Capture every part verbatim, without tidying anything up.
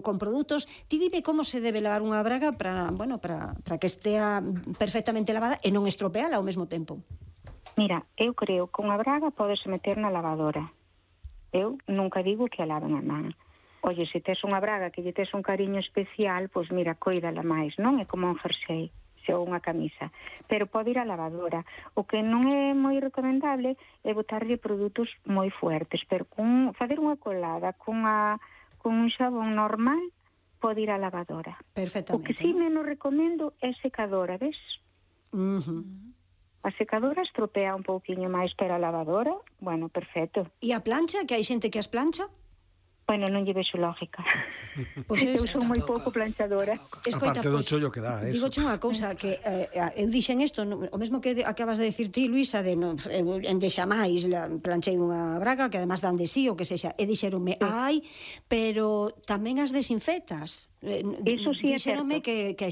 con produtos. Ti dime como se debe lavar unha braga para, bueno, para, para que estea perfectamente lavada e non estropeala ao mesmo tempo. Mira, eu creo que unha braga podese meter na lavadora. Eu nunca digo que a laven a man. Oye, se tes unha braga que lle tes un cariño especial, pois mira, coídala máis, non? É como un jersey, ou unha camisa. Pero pode ir á lavadora. O que non é moi recomendable é botarlle produtos moi fuertes, pero con facer unha colada con a con un xabón normal, pode ir á lavadora. Perfectamente. O que sí menos recomendo é secadora, ves? Uh-huh. A secadora estropea un pouquiño máis, pero a lavadora, bueno, perfecto. E a plancha, que hai xente que as plancha? Bueno, non lle vexo lógica. Pois eu son moi pouco planchadora. Escoita, aparte do chollo que dá, eso. Digoche unha cousa, que eh, eu dixen isto, o mesmo que de, acabas de decir ti, Luisa, de no, en de xamais planchei unha braga, que además dan de sí, o que sexa, e dixeronme, sí. ai, pero tamén as desinfetas. Eso sí é certo. Dixeronme que, que,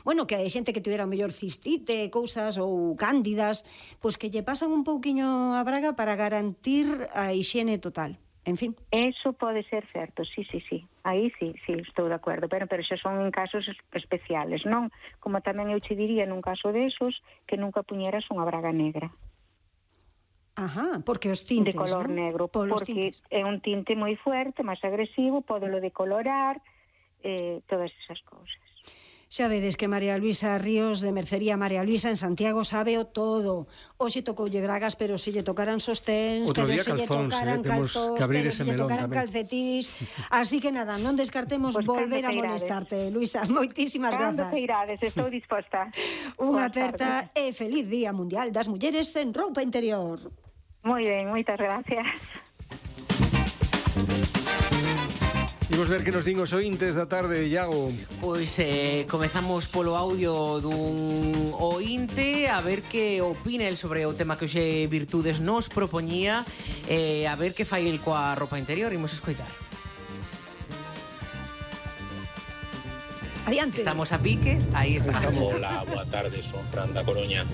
bueno, que hai xente que tivera mellor cistite, cousas, ou cándidas, pois que lle pasan un pouquiño a braga para garantir a hixiene total. En fin. Eso pode ser certo, sí, sí, sí. Aí sí, sí, estou de acordo. Pero, pero xa son en casos especiales, non? Como tamén eu che diría nun caso desos que nunca puñeras unha braga negra. Ajá, porque os tintes, de color, ¿no? Negro, Polos porque tintes. É un tinte moi fuerte, máis agresivo, podelo decolorar, eh, todas esas cousas. Xa vedes que María Luisa Ríos, de Mercería María Luisa, en Santiago, sabe o todo. Hoxe tocoulle bragas, pero se lle tocaran sosténs, Outro pero día se lle calzóns, tocaran eh, calzós, pero se lle tocaran tamén. calcetís. Así que nada, non descartemos pues volver a molestarte, Luisa. Moitísimas cando grazas. Cando irades, estou disposta. Unha aperta e feliz Día Mundial das Mulleres en Roupa Interior. Moi ben, moitas gracias. Imos ver que nos din os ointes da tarde, Iago. Pois eh, comezamos polo audio dun ointe, a ver que opina el sobre o tema que hoxe Virtudes nos propoñía, eh, a ver que fai el coa roupa interior. Imos escoitar. Adiante. Estamos a piques, aí estamos. Hola, boa tarde, son Fran da Coruña.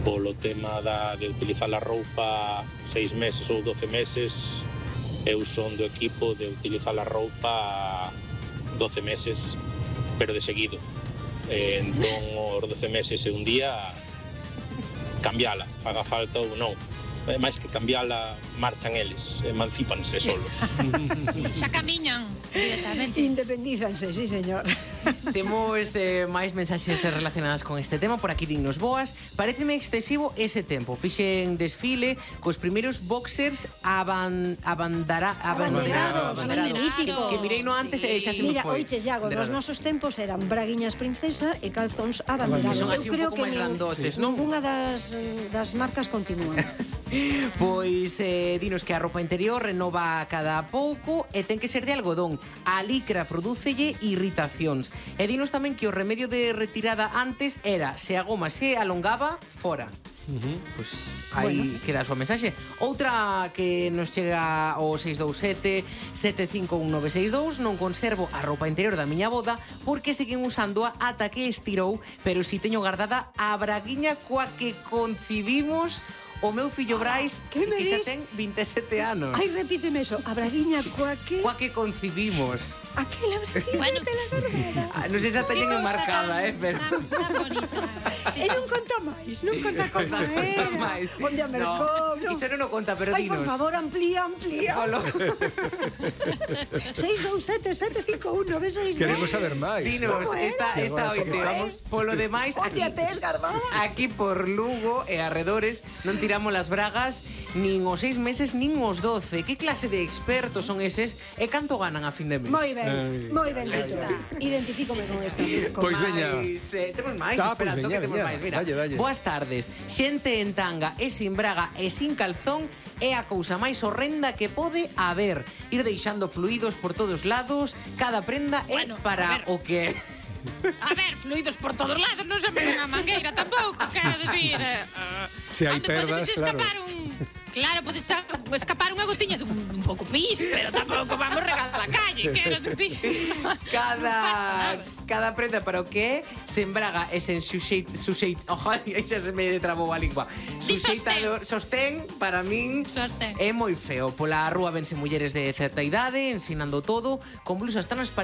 Polo tema da, de utilizar a roupa seis meses ou doce meses, eu son do equipo de utilizar a roupa doce meses, pero de seguido. Eh, entón, os doce meses e un día, cambiala, faga falta ou non. Eh, máis que cambiala, marchan eles, emancípanse solos. Sí, xa camiñan directamente. Independízanse, sí, señor. Temos eh, máis mensaxes relacionadas con este tema. Por aquí dignos boas. Paréceme excesivo ese tempo. Fixen desfile cos primeiros boxers aban, abandara, abanderados, abanderados. Que, que mirei no antes e xa se me Mira, foi. oiche, Iago, nos nosos tempos eran braguiñas princesa e calzóns abanderados. Son así Eu creo un pouco que máis grandotes, non? Ninguna das, das marcas continúan. Pois eh, dinos que a roupa interior renova cada pouco e ten que ser de algodón. A licra prodúcelle irritacións. E dinos tamén que o remedio de retirada antes era se a goma se alongaba, fora. Uh-huh. Pois aí bueno. Queda a súa mensaxe. Outra que nos chega ao seis dous sete, sete cinco un nove seis dous. Non conservo a roupa interior da miña boda porque seguen usándoa ata que estirou, pero si teño guardada a braguiña coa que concibimos o meu fillo Brais, que, que xa ten vinte e sete anos. Ai, repíteme eso. A braguiña coa que... Coa que concibimos. Aquela braguiña bueno. de la verdadera. Ah, non sei se teñen enmarcada, eh, pero... Tan, tan bonita. Sí, e non conta máis, non conta como era. máis. Onde a mercou, no. Iso non o conta, pero Ai, dinos. por favor, amplía, amplía. seis dous sete, sete cinco un nove seis dous. Queremos saber máis. Dinos, esta, esta ointe. Vamos, polo demais, aquí, aquí por Lugo e arredores, non tiramos as bragas nin os seis meses nin os doce. Que clase de expertos son eses e canto ganan a fin de mes? Moi ben, moi ben dito. Identifícome con esta. Pois veña. Eh, temos máis, ah, espera, pues que temos máis. Mira, dalle, dalle. Boas tardes. Xente en tanga e sin braga e sin calzón é a cousa máis horrenda que pode haber. Ir deixando fluidos por todos lados, cada prenda é bueno, para o que... A ver, fluidos por todos lados, non somos unha mangueira tampouco, quero decir. Uh, Se hai onde perdas, podes escapar claro. un Claro, podes escapar unha gotiña dun, dun pouco pis, pero tampouco vamos regalar a calle, quero dicir. Cada cada prenda para o que é, se embraga e sen suxeit, suxeit, ojo, aí xa se me trabou a lingua. Di Suxeitador, sostén, para min Sostén. é moi feo. Pola rúa vense mulleres de certa idade, ensinando todo, con blusas transparentes